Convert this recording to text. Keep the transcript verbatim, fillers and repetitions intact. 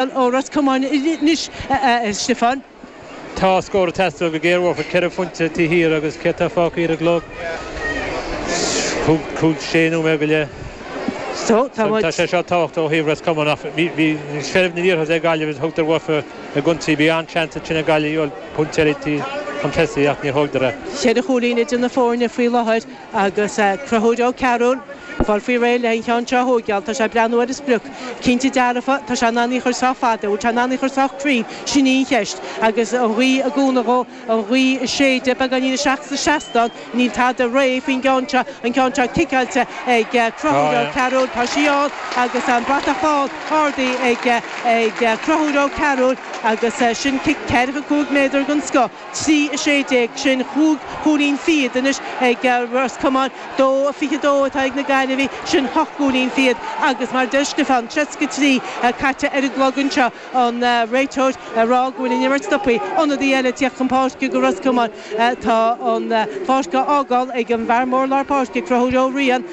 Ó Ros Comáin anois, a Stiofáin. Tá scór ag teastáil go géar uathu, ceithre phointe taobh thiar agus céard atá fágtha ar an gclog? Cúig, sé nóiméad go leith. So, tá muid. Tá sé seo tábhachtach ó thaobh Ros Comáin ach bhí seilbh na liathróide ag Gaillimh is thógadar uathu i gcontae. Bhí an-seans ansin ag Gaillimh a fháil pointe eile chun tosaigh ach níor thógadar é. Ceithre chúilín idir na foirne faoi láthair agus Conchúr Ó Cearúil fáil faoi réir le an cheann seo a thóigeáil. Tá sé ag breathnú ar an sprioc. Cinnte dearfa, tá sé in ann í a chur sách fada. Bhfuil sé in ann í a chur sách cruinn? Sin í an cheist. Agus an ghaoth ag cúnamh dhó, an ghaoth ag séideadh beagáinín isteach sa seastán, níl tada réidh faoin gceann seo, an ceann seo ciceáilte ag Conchúr Ó Cearúil. Tá sí ann agus an bratach bán ardaithe ag Conchúr Ó Cearúil agus sin cic ceathracha cúig méadar den scoth. Trí a sé déag, sin cúig chúilín fichead anois ag Ros Comáin, dó a fiche dó atá ag na Gaillimhigh, sin ocht gcúilín fichead agus mar a deir Stiofán, seasca trí caite ar an gclog anseo, an réiteoir ag rá go bhfuil an imirt stoptha, ionadaí eile ag tíocht chun páirce do Ros Comáin. Tá an pháirc á fhágáil ag an bhfear mór lár páirce, Conchúr Ó Riain.